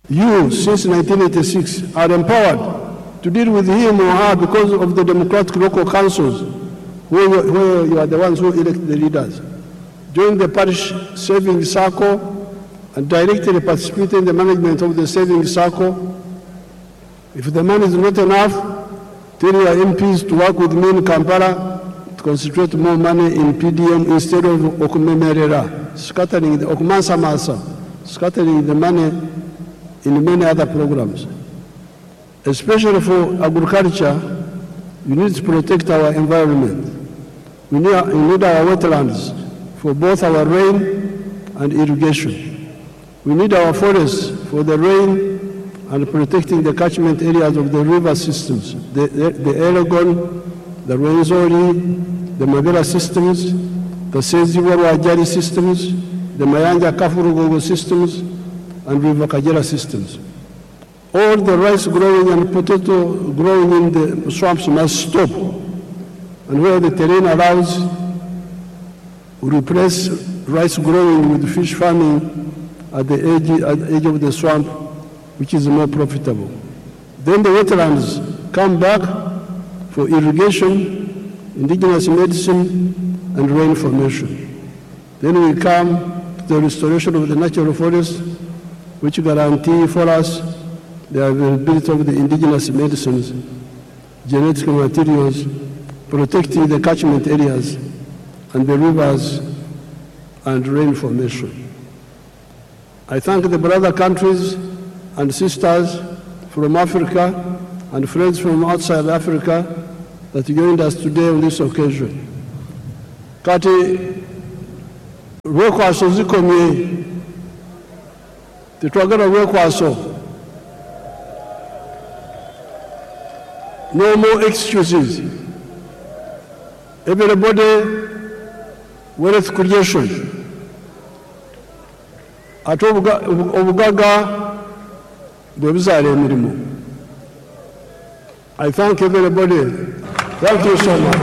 You, since 1986, are empowered to deal with him or her because of the democratic local councils, where you are the ones who elect the leaders. Join the parish savings circle and directly participate in the management of the savings circle. If the money is not enough, tell your MPs to work with me in Kampala to concentrate more money in PDM instead of okumemerera, scattering the okumansamasa, scattering the money in many other programs. Especially for agriculture, we need to protect our environment. We need our wetlands for both our rain and irrigation. We need our forests for the rain and protecting the catchment areas of the river systems, the Elgon, the Rwenzori, the Mabera systems, the Ssezibwa Rwajari systems, the Mayanja Kafu systems, and River Kagera systems. All the rice growing and potato growing in the swamps must stop. And where the terrain allows, we replace rice growing with fish farming at the edge of the swamp, which is more profitable. Then the wetlands come back for irrigation, indigenous medicine, and rain formation. Then we come to the restoration of the natural forest, which guarantee for us the availability of the indigenous medicines, genetic materials, protecting the catchment areas and the rivers and rain formation. I thank the brother countries and sisters from Africa and friends from outside Africa that joined us today on this occasion. Kati lwekwaso zikomye, tetwagala lwekwaso. No more excuses. Everybody, wealth creation, ate obugagga bwe buzaala emirimu. I thank everybody. Thank you so much.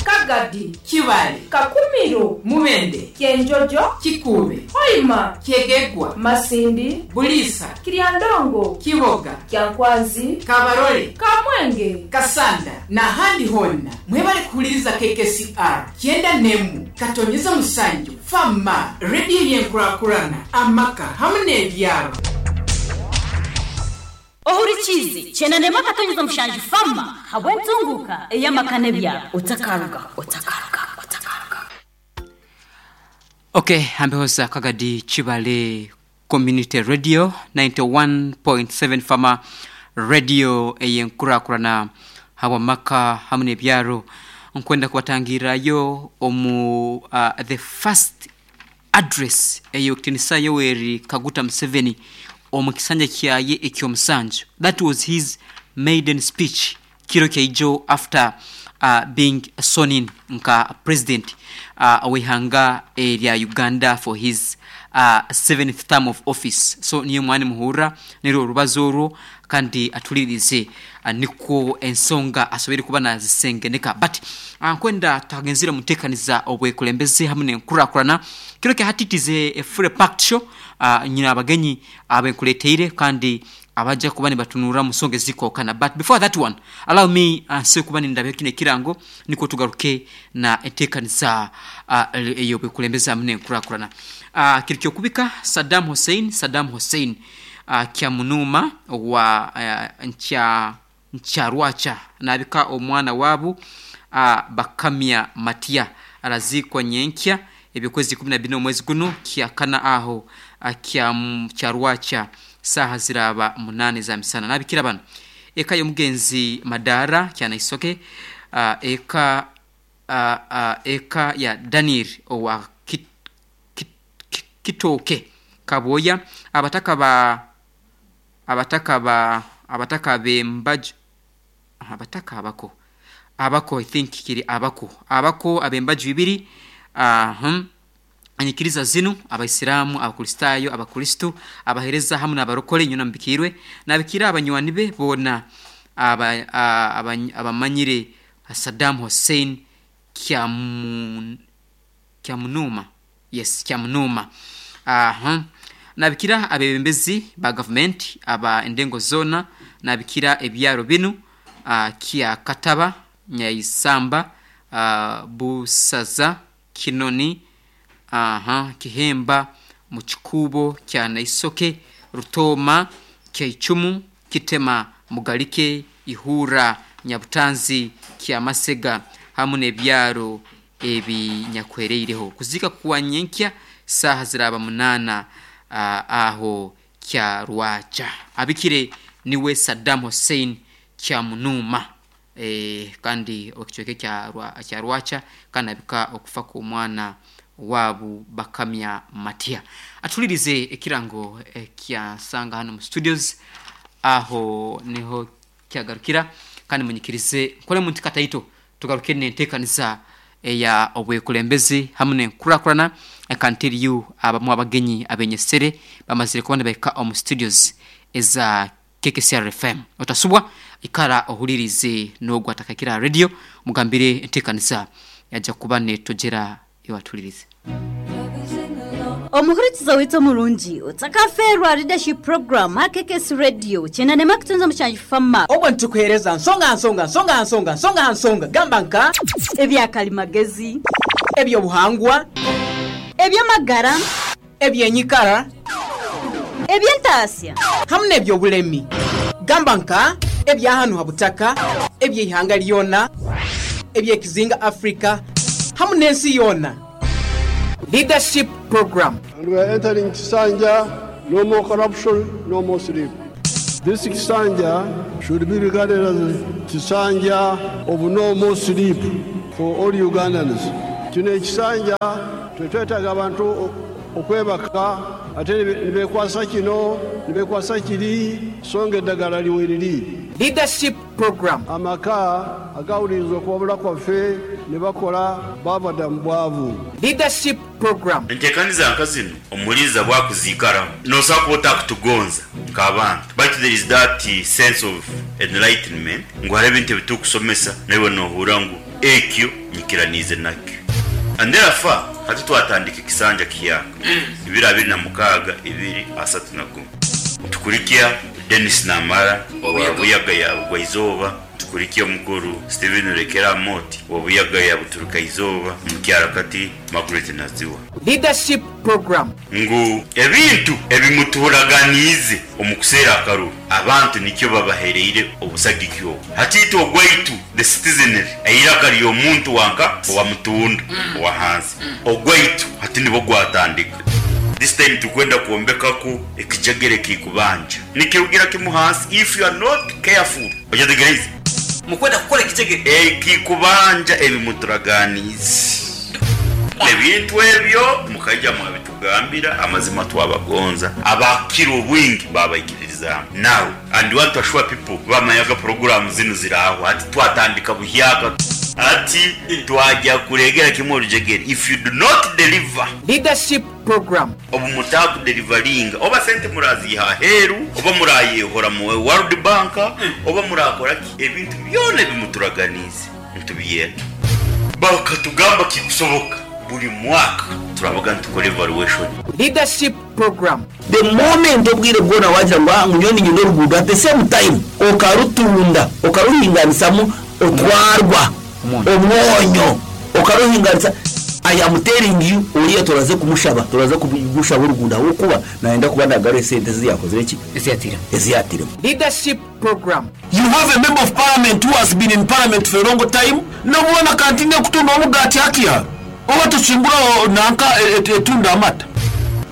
Kagadi, Kibale, Kakumiro, Mubende, Kyenjojo, Kikuube, Hoima, Kyegegwa, Masindi, Buliisa, Kiryandongo, Kiboga, Kyankwanzi, Kabarole, Kamwenge, Kasanda n'ahandi honna mwebale kuwuliriza KKCR 91.7 Fama rediyo y'enkurakurana amaka hamu n'ebyaro. Ohurikize 91.7 Fama habwentunguka ey'amaka n'ebyaro, otakaruga, otakaruga, otakaruga. Okay, ambehoza Kagadi Kibale Community Radio, 91.7 Fama Radio eyenkurakurana habwamaka hamu n'ebyaro. Nkwenda kubatangirayo omu the first address eyokutinisa Yoweri Kaguta Museveni omu kisanja kyaye ekyomusanju. That was his maiden speech kiro kyaijo after being sworn in nka president w'ihanga erya Uganda for his seventh term of office. So niyo mwani muhurra nirwo orubazo orwo, kandi atulirize nikwo ensonga asobere kuba nazisengeneka. But nkwenda tuhagenzire mutekaniza obwekulembeze hamwe nenkurakurana kiro kyahatitize a full packed show. Nyina abagenyi abenkuleteire kandi abajja kuba nibatunura mu nsonga ezikokana. But before that one, allow me nse kuba nindabeho kino ekirango nikwo tugaruke na enteekaniza eyo bwekulembeze hamwe nenkurakurana. Kiri kyokubika Saddam Hussein, Saddam Hussein Kyamunuma wa nkya Nkyarwacha nabika omwana wabu Bakamya Matia arazikwa nyenkya ebyokwezi 14 omwezi guno kyakana aho kya Kyarwacha, saha ziraba 8 za misana. Nabikira bano: eka y'omugenzi Madara Kyanaisoke, eka ya Daniel owa Kit, Kit, Kit, Kitooke Kaboya, abataka bembaju, abataka abako, abako, I think kiri abako, abako abembaju ibiri. Anyikiriza zinu: abaisilamu, abakristayo, abakristu, abahereza hamwe n'abarokole. Nyuna mbikirwe nabikira abanywani be bona abamanyire Saddam Hussein Kyamunuma, yes, Kyamunuma. Aha. Nabikira abebembezi ba gavumenti aba endengo zona, nabikira ebyaro binu kya Kataba, Nyaisamba, Busaza, Kinoni, Kihemba, Muchikubo, kya Naisoke, Rutoma, Kyaichumu, Kitema, Mugalike, Ihura, Nyabutanzi, kya Masega hamu n'ebyaro ebinyakwereireho. Kuzika kuwa nyenkya saha ziraba 8 aho kya Rwacha. Abikire niwe Saddam Hussein kya Munuma, kandi okichweke kya Rwacha, kandi abika okufa ku mwana wabu Bakamya Matia. Atulirize ekirango kya sanga hano mu studios aho niho kyagarukira, kandi munyikirize nkole muntu kataito tugaruke nenteekaniza eya obwekulembezi hamwe n'enkurakurana. I can tell you abamu abagenyi abenyesere bamazire kubona baika omu studios eza KKCR FM. Otasubwa ikara ohulirize n'ogwo atakakira radio, mugambire enteekaniza yajja kuba netojera ewatulirize. Omuhurikiza witso murungi utakaferwa leadership program HKKS radio chena nema kutunza mushanji fama obwo ntukuhereza nsonga nsonga nsonga nsonga nsonga nsonga gamba nka ebyakalimagezi, ebyobuhangwa, ebyamagara, ebyenyikara, ebyentasya hamwe n'ebyobulemi gamba nka ebyahanu habutaka, ebyeihanga lyona, ebyekizinga Africa hamwe n'ensi yona. Leadership program. And we are entering Kisanja, no more corruption, no more sleep. This Kisanja should be regarded as Kisanja of no more sleep for all Ugandans. Kino ekisanja tetwetaaga abantu okwebaka ate nibekwasa kino nibekwasa kiri, songa eddagala liweriri. Leadership program. Amaka agawuliriza okuwabula kwaffe ne bakola bava dda mu bwavu. Leadership program. Enteekaniza nka zino omuliiza bwakuziikaramu nosobola kuba otakutugonza nk'abantu, but there is that sense of enlightenment ngu hariho ebintu ebitukusomesa naiwe nohurra ngu ekyo nyikiraniize nakyo. And therefore hati twatandika ekisanja kihyaka 2026 2031. Tukurikya Dennis Namara owa Buyaga ya Bugwaizooba, tukurikya omukuru Steven Rekera Moti wa Buyaga ya Buturuka Izooba, Mukyarakati Margaret Naziwa. Leadership program. Ngu ebintu ebimuturaganiize omu kuseera akaruru abantu nikyo babahereire obusagiki obwo. Hatiitwe ogwaitu the citizenry eiraka ry'omuntu wanka owa mutunda owa hansi ogwaitu hati nibwo gwatandika. This time tukwenda kuombekaku ekijegere kikubanja nikirugira kimu hansi. If you are not careful ojategereza mukwenda kukora ekijegere ekikubanja ebimuturaganiize ebintu ebyo mukaija mwabitugambira amazima twabagonza abakira obwingi babaikiririzaamu. Now and want to assure people bamayaga program zino ziraho ati twatandika buhyaka ati twajya kuregera kimwe orujegere. If you do not deliver leadership program, obu mutaku delivaringa oba sente muraziha aheru oba murayehora mu World Bank oba murakora ki, ebintu byona ebimuturaganize ntubiyenda bakatugamba kikusoboka buri mwaka turabaga ntukore evaluation. Leadership program. The moment obwire bwona wagira ngo ngunyoni nyine oruguudo, at the same time okarutunda okaruhinganisamu otwarwa omwonyo okaruhinganisa. I am telling you, oriya turaze kumushaba, turaze kumushaba oruguudo ahabw'okuba nayenda kuba nagaruha esente ezi yakozire ki eziyatiremu. Leadership program. You have a member of parliament who has been in parliament for a long time, nobona kantine kutunda omugati hakia oba tukimbura nanka etunda amata.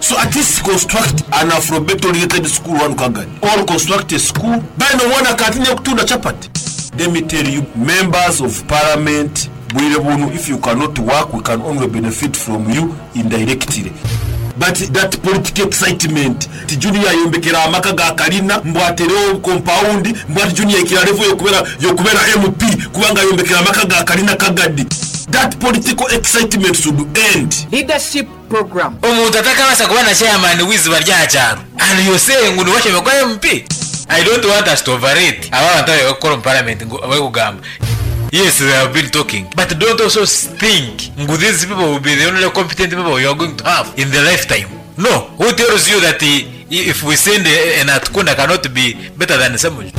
So at least construct an alphabet oriented school one Kagadi, or construct a school then obona kantine kutunda chapati. Let me tell you, members of parliament bwire bunu, if you cannot work, we can only benefit from you indirectly. But that political excitement ti Junior ayombekera amaka ga kalina mbwaterewo compound, mbwati Junior ikira level yokubera MP kubanga ayombekera amaka ga kalina Kagadi. That political excitement should end. Leadership program. Omuntu atakabasa kuba na chairman w'iziba rya cyaro and you say ngo niwasheme kwa MP. I don't want us to overrate aba bantu bari gukora mu parliament ngo bari kugamba. Yes, they have been talking, but don't also think ngo these people will be the only competent people you are going to have in the lifetime. No, who tells you that if we send an Atukunda cannot be better than Ssemujju?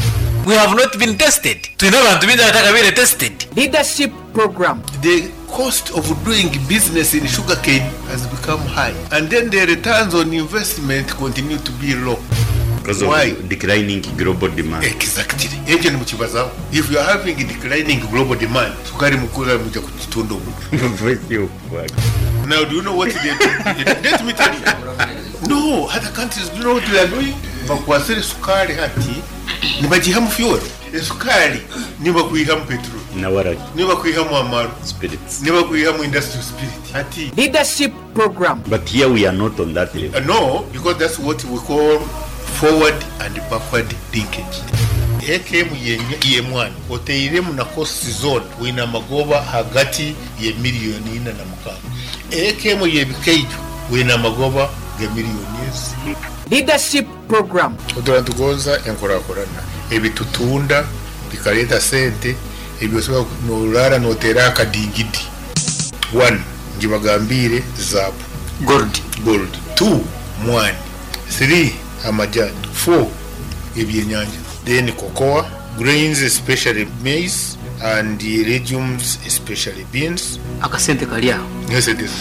We have not been tested. Twine abantu bingi abatakabaire tested. Leadership program. The cost of doing business in sugarcane has become high, and then the returns on investment continue to be low. Because of Why? declining global demand. Exactly. Ekyo nimukibazaho. If you are having declining global demand, sukari mukura muja kutunda omuntu. Now, do you know what they do? Let me tell you. No, other countries, do you know what they are doing? Bakwasire sukari hati, nibagihamu fuel. Esukari nibakwihamu petrol. Nawaragi. Nibakwihamu amaru. Spirits. Nibakwihamu industrial spirit. Hati. Leadership program. But here we are not on that level. No, because that's what we call forward and backward linkage. AKM yemwana oteiremu na cost zone wina magoba hagati ye miliyoni 46. AKM yebikeijo wina magoba ge miliyoni ezi. Leadership program. Oturantugonza enkurakurana ebitutunda bikaleta sente ebyosobola norara notera akadingidi. 1 njibagambire zabu gold gold 2 mwani 3 amajani 4 ebyenyanja, then cocoa, grains especially maize and legumes especially beans. Akasente kali aho. Yes, it is.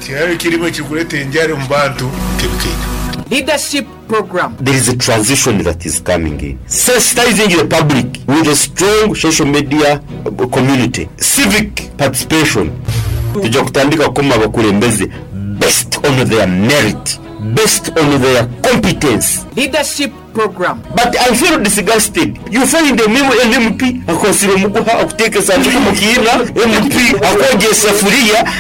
Kiraro kirimo kikuleta enjara mu bantu kebikeito. Leadership program. There is a transition that is coming in. Sensitizing the public with a strong social media community, civic participation. Tujja kutandika kukoma abakulembeze based on their merit, based on their competence. Leadership program. But I feel disgusted. You find a an MP akosire omuguha akuteeka esanduku mu kiina, MP akwogya esafuriya.